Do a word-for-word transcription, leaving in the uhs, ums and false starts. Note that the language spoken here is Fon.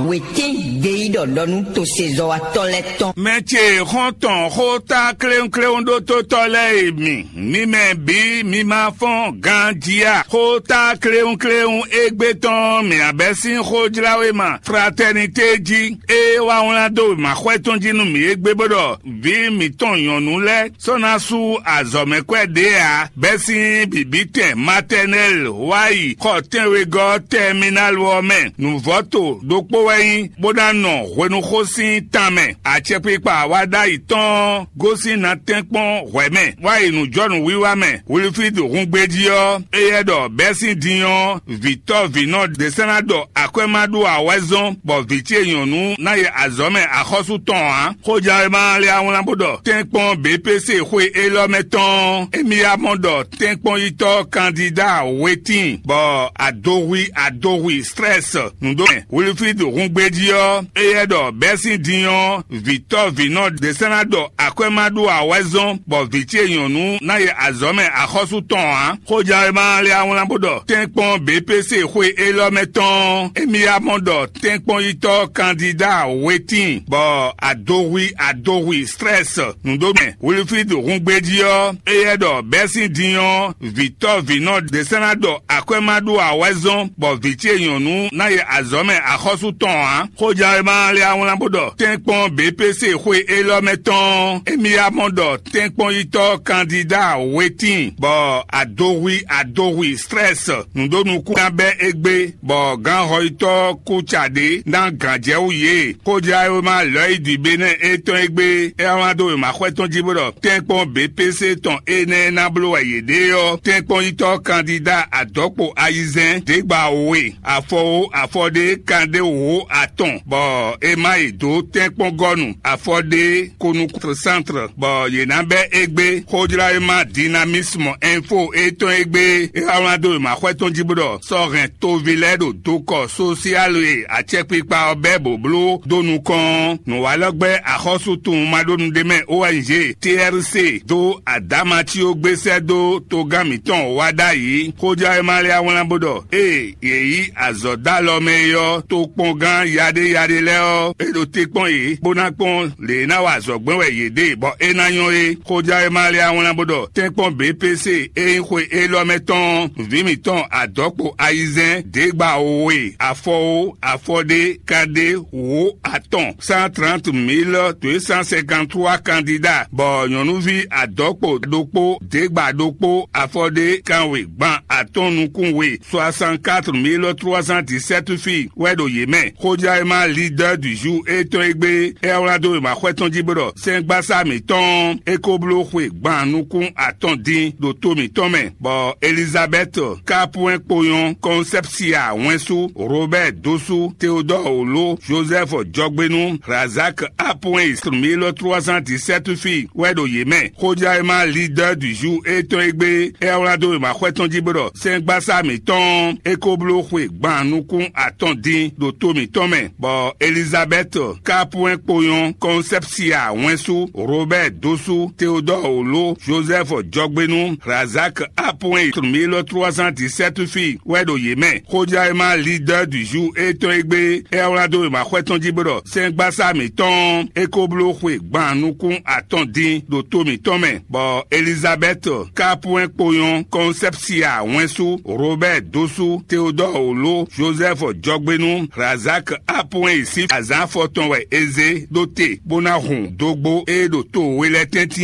Wětín ɖe yí ɖɔ ɖɔ nú tosezɔ́watɔ́ lɛ́ɛ tɔn. Mɛ ce xɔ́ntɔn xóta kléwúnkléwún ɖótótɔ́ lɛ́ɛ e mi, mi mɛ bǐ mi ma fɔ́n ganjí a? Xóta kléwúnkléwún égbé tɔn mǐ abɛ́ sín xójláwéma Fratɛnité jí, é wá wlán dó wěmaxwɛ tɔn jí nú mǐ égbé bó ɖɔ vǐ mǐtɔn nyɔ̌nu lɛ́ɛ sɔ́ ná sú azɔ̌mɛkwɛ́ ɖě ǎ, bɛ́ sín bǐbítɛn matɛnɛ́l wá yi xɔ tɛ́nwegɔ́ tɛminál ɔ́ mɛ. Nǔvɔ́to ɖokpó wɛ nyí, bó ná nɔ hwenuxó sín tan mɛ. Acɛkpikpa wa ɖ'ayǐ tɔn gosín ná tɛ́nkpɔ́n hwɛ̌ mɛ, wá yi nǔjɔnǔwiwa mɛ. Wiliflídu húngbéjí ɔ́, éyɛ́ ɖɔ bɛ́ sín din ɔ́, vǐtɔ́ vǐnɔ ɖě sɛ́ ná ɖɔ akwɛ́ ma ɖó awɛ́zɔ́n, bɔ vǐ ce nyɔ̌nu ná yi azɔ̌ mɛ axɔ́sú tɔn ǎ. Xojǎwe ma lɛ́ wlán bó ɖɔ tɛ́nkpɔ́n B P C xwe élɔ́ mɛ tɔn, émí ya mɔ ɖɔ tɛ́nkpɔ́nyitɔ́ kandídá wetín, bɔ adohwi adohwi strɛ́s nǔɖomɛ. Wiliflídu húngbéjí ɔ́, éyɛ́ ɖɔ bɛ́ sín din ɔ́, vǐtɔ́ vǐnɔ ɖě sɛ́ ná ɖɔ akwɛ́ ma ɖó awɛ́zɔ́n, bɔ vǐ ce nyɔ̌nu ná yi azɔ̌ mɛ axɔ́sú tɔn ǎ. Xojǎwe ma lɛ́ wlán bó ɖɔ tɛ́nkpɔ́n B P C xwe élɔ́ mɛ tɔn, émí ya mɔ ɖɔ tɛ́nkpɔ́nyitɔ́ kandídá wetín, bɔ adohwi adohwi strɛ́s nǔɖomɛ. Wiliflídu húngbéjí ɔ́, éyɛ́ ɖɔ bɛ́ sín din ɔ́, vǐtɔ́ vǐnɔ ɖě sɛ́ ná ɖɔ akwɛ́ ma ɖó awɛ́zɔ́n, bɔ vǐ ce nyɔ̌nu ná yi azɔ̌ mɛ axɔ́sú tɔn ǎ. Xojǎwe ma lɛ́ wlán bó ɖɔ tɛ́nkpɔ́n B P C xwe élɔ́ mɛ tɔn, émí ya mɔ ɖɔ tɛ́nkpɔ́nyitɔ́ kandídá wetín, bɔ adohwi adohwi strɛ́s nǔɖó nukún ná bɛ́ égbé, bɔ gǎnhɔyitɔ́ kúca ɖě ná gǎnjɛwú yě. Xojǎwe ma lɔ̌ yi dǐbénɛ́ étɔn égbé, é wá wlán dó wěmaxwɛ tɔn jí bó ɖɔ tɛ́nkpɔ́n B P C tɔn énɛ́ ná bló wɛ yě ɖe ɔ́, tɛ́nkpɔ́nyitɔ́ kandídá adɔ̌kpo ayizɛ́n ɖěgba we, afɔwó afɔɖé kanɖé wǒ atɔn, bɔ è ma yi dǒ tɛ́nkpɔ́ngɔ́nu afɔɖé konukúntrɔsántrɔ, bɔ yě ná bɛ́ égbé. Xojlá e ma dinamismu info étɔn égbé, é wá wlán dó wěmaxwɛ tɔn jí bó ɖɔ sɔ́ hɛn toví lɛ́ɛ ɖo dokɔ sósiálu e acɛkpikpa ɔ́ bɛ́ bǒbló dó nukɔn ɔ́, nǔwalɔ́gbɛ́ axɔ́sútun maɖónuɖémɛ O N G T R C dó Adamatio gbé sɛ́ dó togán mǐtɔn wá ɖ'ayǐ. Xojá e ma lɛ́ wlán bó ɖɔ ée yě yí azɔ̌ dó alɔ mɛ é ɔ́, tokpɔngán yaɖéyaɖé lɛ́ɛ ɔ́, é ɖo te kpɔ́n yě, bó ná kpɔ́n lě e é ná wa azɔ̌ gbɛ́n wɛ yě ɖe, bɔ é ná nyɔ́ é. Xojá e ma lɛ́ wlán bó ɖɔ tɛ́nkpɔ́n B P C e nyí xwe élɔ́ mɛ tɔn vǐ mǐtɔn adɔ̌kpo ayizɛ́n ɖěgba we, afɔwó afɔɖé kanɖé wǒ atɔn, cent trente mille deux cent cinquante-trois candidats, bɔ nyɔ̌nuví adɔ̌kpo ɖokpó, ɖěgba ɖokpó, afɔɖé kanwe gban atɔn nukún we, soixante-quatre mille trois cent dix-sept filles wɛ ɖo yě mɛ. Xojá e ma leader du jour étɔn égbé, é wlán dó wěmaxwɛ tɔn jí bó ɖɔ sɛ́ngbasá mǐtɔn ɔ́, é ko bló xwe gban nukún atɔn din ɖo to mǐtɔn mɛ, bɔ Elizabɛ́t Kapwɛn kponyɔ́, Kɔnsɛpsia Wɛnsú, Robɛ́ɛ Dosú, Teodɔ́ɔ Oló, Jozɛ́fu Jɔgbénu, Razak Apwɛn, mille trois cent dix-sept filles wɛ ɖo yě mɛ. Xojá e ma leader du jour étɔn égbé, é wlán dó wěmaxwɛ tɔn jí bó ɖɔ sɛ́ngbasá mǐtɔn ɔ́, é ko bló xwe gban nukún atɔn din ɖo to mǐtɔn mɛ, bɔ Elizabɛ́t Kapwɛn kponyɔ́, Kɔnsɛpsia Wɛnsú, Robɛ́ɛ Dosú, Teodɔ́ɔ Oló, Jozɛ́fu Jɔgbénu, Razak Apwɛn, mille trois cent dix-sept filles wɛ ɖo yě mɛ. Xojá e ma leader du jour étɔn égbé, é wlán dó wěmaxwɛ tɔn jí bó ɖɔ sɛ́ngbasá mǐtɔn ɔ́, é ko bló xwe gban nukún atɔn din ɖo to mǐtɔn mɛ, bɔ Elizabɛ́t Kapwɛn kponyɔ́, Kɔnsɛpsia Wɛnsú, Robɛ́ɛ Dosú, Teodɔ́ɔ Oló, Jozɛ́fu Jɔgbénu, Razak Apwɛn sín azǎn afɔtɔn wɛ é zé ɖó te, bó ná hun dógbó e ɖo to we lɛ́ɛ tɛ́ntin.